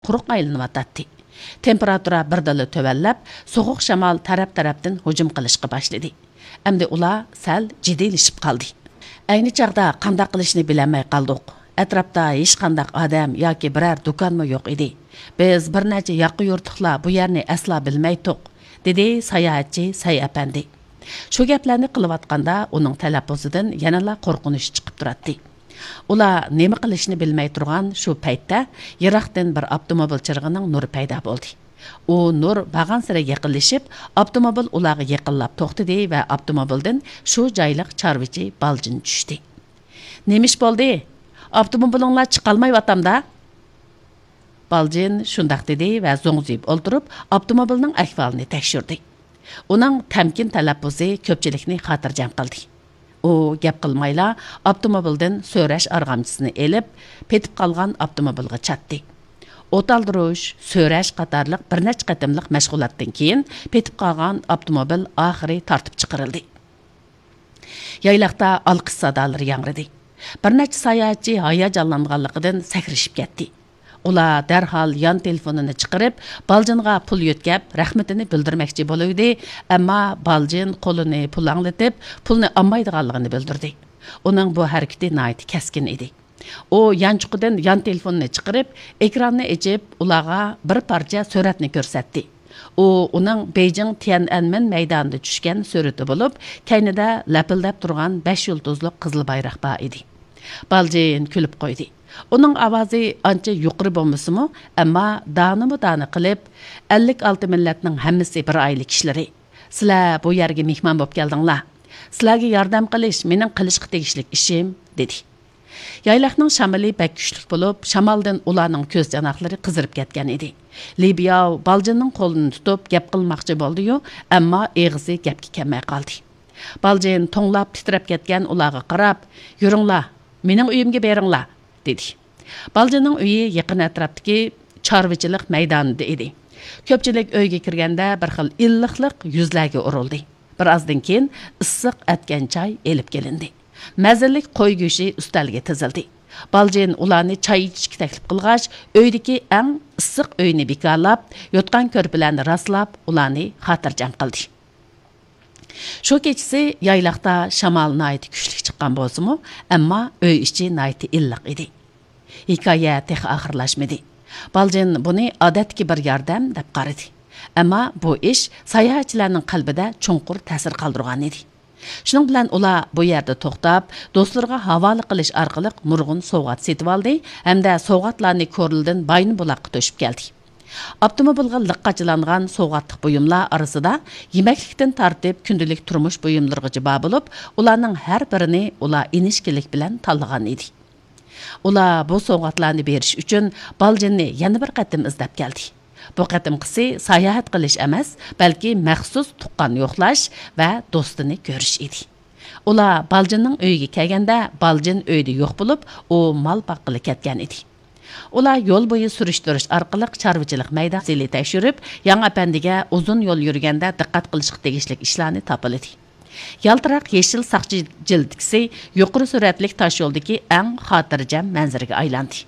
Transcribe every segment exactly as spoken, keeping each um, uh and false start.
قۇرۇق ئايلىنىۋاتاتتى. تېمپېراتۇرا بىردىنلا تۆۋەنلەپ، سوغۇق شامال تەرەپ-تەرەپتىن ھۇجۇم قىلىشقا باشلىدى. ئەمدى ئۇلار سەل جىددىيلىشىپ قالدى. ئەينى چاغدا قانداق قىلىشنى بىلەلمەي قالدۇق. ئەتراپتا ھېچقانداق ئادەم ياكى بىرەر دۇكانمۇ يوق ئىدى. بىز بىر نەچچە ياقا يۇرتلۇقلار بۇ يەرنى ئەسلا بىلمەيتتۇق، دېدى ساياھەتچى سەي ئەپەندى. شۇ گەپلەرنى قىلىۋاتقاندا ئۇنىڭ تەلەپپۇزىدىن يەنىلا قورقۇنچ چىقىپ تۇراتتى. ئۇلار نېمە قىلىشنى بىلمەي تۇرغان شۇ پەيتتە يىراقتىن بىر ئاپتوموبىل چىرىغىنىڭ نۇرى پەيدا بولدى. ئۇ نۇر بارغانسېرى يېقىنلىشىپ، ئاپتوموبىل ئۇلارغا يېقىنلاپ توختىدى ۋە ئاپتوموبىلدىن شۇ جايلىق چارۋىچى بالجىن چۈشتى. نېمە ئىش بولدى؟ ئاپتوموبىلىڭلار چىقالمايۋاتامدا؟ بالجىن شۇنداق دېدى ۋە زوڭزىيىپ ئولتۇرۇپ، ئاپتوموبىلنىڭ ئەھۋالىنى تەكشۈردى. ئۇنىڭ تەمكىن تەلەپپۇزى كۆپچىلىكنى خاتىرجەم قىلدى. ئۇ گەپ قىلمايلا ئاپتوموبىلدىن سۆرەش ئارغامچىسىنى ئېلىپ، پېتىپ قالغان ئاپتوموبىلغا چاتتى. ئوت ئالدۇرۇش، سۆرەش قاتارلىق بىر نەچچە قېتىملىق مەشغۇلاتتىن كېيىن، پېتىپ قالغان ئاپتوموبىل ئاخىرى تارتىپ چىقىرىلدى. يايلاقتا ئالقىش سادالىرى ياڭرىدى. بىر نەچچە ساياھەتچى ھاياجانلانغانلىقىدىن سەكرىشىپ كەتتى. ئۇلار دەرھال يان تېلېفونىنى چىقىرىپ، بالجىنغا پۇل يۆتكەپ، رەھمىتىنى بىلدۈرمەكچى بولۇۋىدى، ئەمما بالجىن قولىنى پۇلاڭلىتىپ، پۇلنى ئالمايدىغانلىقىنى بىلدۈردى. ئۇنىڭ بۇ ھەرىكىتى ناھايىتى كەسكىن ئىدى. ئۇ يانچۇقىدىن يان تېلېفوننى چىقىرىپ، ئېكراننى ئېچىپ، ئۇلارغا بىر پارچە سۈرەتنى كۆرسەتتى. ئۇ ئۇنىڭ بېيجىڭ تيەنئەنمېن مەيدانىدا چۈشكەن سۈرىتى بولۇپ، كەينىدە لەپىلدەپ تۇرغان بەش يۇلتۇزلۇق قىزىل بايراق بار ئىدى. بالجىن كۈلۈپ قويدى. ئۇنىڭ ئاۋازى ئانچە يۇقىرى بولمىسىمۇ، ئەمما دانىمۇ دانە قىلىپ، «ئەللىك ئالتە مىللەتنىڭ ھەممىسى بىر ئائىلە كىشىلىرى. سىلەر بۇ يەرگە مېھمان بولۇپ كەلدىڭلار. سىلەرگە ياردەم قىلىش مېنىڭ قىلىشقا تېگىشلىك ئىشىم» دېدى. يايلاقنىڭ شامىلى بەك كۈچلۈك بولۇپ، شامالدىن ئۇلارنىڭ كۆز چاناقلىرى قىزىرىپ كەتكەن ئىدى. لى بياۋ بالجىننىڭ قولىنى تۇتۇپ گەپ قىلماقچى بولدى-يۇ، ئەمما ئېغىزى گەپكە كەلمەي قالدى. بالجىن توڭلاپ تىترەپ كەتكەن ئۇلارغا قاراپ، «يۈرۈڭلار، مېنىڭ ئۆيۈمگە بېرىڭلار» دېدى. بالجىننىڭ ئۆيى يېقىن ئەتراپتىكى چارۋىچىلىق مەيدانىدا ئىدى. كۆپچىلىك ئۆيگە كىرگەندە بىر خىل ئىللىقلىق يۈزلەرگە ئۇرۇلدى. بىر ئازدىن كېيىن ئىسسىق ئەتكەن چاي ئېلىپ كېلىندى. مەززىلىك قوي گۆشى ئۈستەلگە تىزىلدى. بالجىن ئۇلارنى چاي ئىچىشكە تەكلىپ قىلغاچ، ئۆيدىكى ئەڭ ئىسسىق ئۆينى بىكارلاپ، يوتقان-كۆرپىلەرنى راسلاپ، ئۇلارنى خاتىرجەم قىلدى. شۇ كېچىسى يايلاقتا شامال ناھايىتى كۈچلۈك چىققان بولسىمۇ، ئەمما ئۆي ئىچى ناھايىتى ئىللىق ئىدى. ھېكايە تېخى ئاخىرلاشمىدى. بالجىن بۇنى ئادەتتىكى بىر ياردەم دەپ قارىدى. ئەمما بۇ ئىش ساياھەتچىلەرنىڭ قەلبىدە چوڭقۇر تەسىر قالدۇرغان ئىدى. شۇنىڭ بىلەن ئۇلار بۇ يەردە توختاپ، دوستلىرىغا ھاۋالە قىلىش ئارقىلىق نۇرغۇن سوۋغات سېتىۋالدى ھەمدە سوۋغاتلارنى كورلىدىن بايىنبۇلاققا توشۇپ كەلدى. ئاپتوموبىلغا لىق قاچىلانغان سوۋغاتلىق بۇيۇملار ئارىسىدا يېمەكلىكتىن تارتىپ كۈندىلىك تۇرمۇش بۇيۇملىرىغىچە بار بولۇپ، ئۇلارنىڭ ھەر بىرىنى ئۇلار ئىنچىكىلىك بىلەن تاللىغان ئىدى. ئۇلار بۇ سوۋغاتلارنى بېرىش ئۈچۈن بالجىننى يەنە بىر قېتىم ئىزدەپ كەلدى. بۇ قېتىمقىسى ساياھەت قىلىش ئەمەس، بەلكى مەخسۇس تۇغقان يوقلاش ۋە دوستىنى كۆرۈش ئىدى. ئۇلار بالجىننىڭ ئۆيىگە كەلگەندە، بالجىن ئۆيدە يوق بولۇپ، ئۇ مال باققىلى كەتكەن ئىدى. ئۇلار يول بويى سۈرۈشتۈرۈش ئارقىلىق چارۋىچىلىق مەيدانىنى تەكشۈرۈپ، ياڭ ئەپەندىگە ئۇزۇن يول يۈرگەندە دىققەت قىلىشقا تېگىشلىك ئىشلارنى تاپىلىدى. يالتىراق يېشىل ساقچى جىلىتكىسى يۇقىرى سۈرئەتلىك تاشيولدىكى ئەڭ خاتىرجەم مەنزىرىگە ئايلاندى.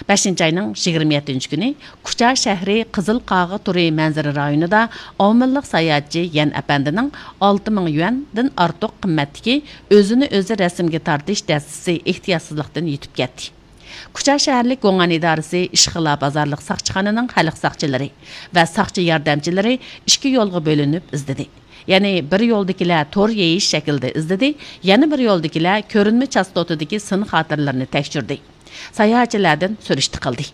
بەشىنچى ئاينىڭ يىگىرمە يەتتىنچى كۈنى كۇچا شەھىرى قىزىل قاغا تورى مەنزىرە رايونىدا ئاۋمېنلىق ساياھەتچى يەن ئەپەندىنىڭ ئالتە مىڭ يۈەندىن ئارتۇق قىممەتتىكى ئۆزىنى ئۆزى رەسىمگە تارتىش دەستىسى ئېھتىياتسىزلىقتىن يىتىپ كەتتى. كۇچا شەھەرلىك گوڭئەن ئىدارىسى ئىشخىلا بازارلىق ساقچىخانىنىڭ خەلق ساقچىلىرى ۋە ساقچى ياردەمچىلىرى ئىككى يولغا بۆلۈنۈپ ئىزدىدى. يەنى بىر يولدىكىلەر تور يېيىش شەكلىدە ئىزدىدى، يەنە بىر يولدىكىلەر كۆرۈنمە چاستوتىدىكى سىن خاتىرىلىرىنى تەكشۈردى. ساياھەتچىلەردىن سۈرۈشتە قىلدى.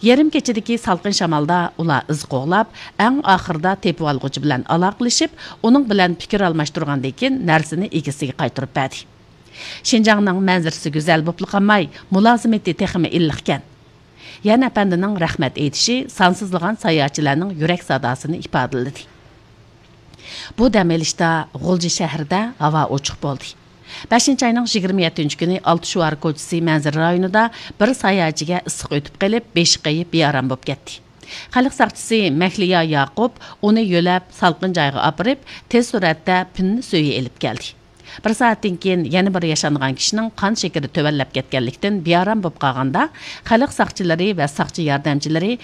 يېرىم كېچىدىكى سالقىن شامالدا ئۇلار ئىز قوغلاپ، ئەڭ ئاخىرىدا تېپىۋالغۇچى بىلەن ئالاقىلىشىپ، ئۇنىڭ بىلەن پىكىر ئالماشتۇرغاندىن كېيىن نەرسىنى ئىگىسىگە قايتۇرۇپ بەردى. شىنجاڭنىڭ مەنزىرىسى گۈزەل بوپلا قالماي، مۇلازىمىتى تېخىمۇ ئىللىقكەن. يەن ئەپەندىنىڭ رەھمەت ئېيتىشى سانسىزلىغان ساياھەتچىلەرنىڭ يۈرەك ساداسىنى ئىپادىلىدى. بۇ دەم ئېلىشتا غۇلجا شەھىرىدە ھاۋا ئوچۇق بولدى. بەشىنچى ئاينىڭ يىگىرمە يەتتىنچى كۈنى ئالتە شوئار كوچىسى مەنزىرە رايونىدا بىر ساياھەتچىگە ئىسسىق ئۆتۈپ قېلىپ، بېشى قېيىپ، بىئارام بولۇپ كەتتى. خەلق ساقچىسى مەھلىيا ياقۇپ ئۇنى يۆلەپ، سالقىن جايغا ئاپىرىپ، تېز سۈرئەتتە پىننە سۈيى ئېلىپ كەلدى. بىر سائەتتىن كېيىن يەنە بىر ياشانغان كىشىنىڭ قان شېكىرى تۆۋەنلەپ كەتكەنلىكتىن بىئارام بولۇپ قالغاندا، خەلق ساقچىلىرى ۋە ساقچى ياردەمچىلىرى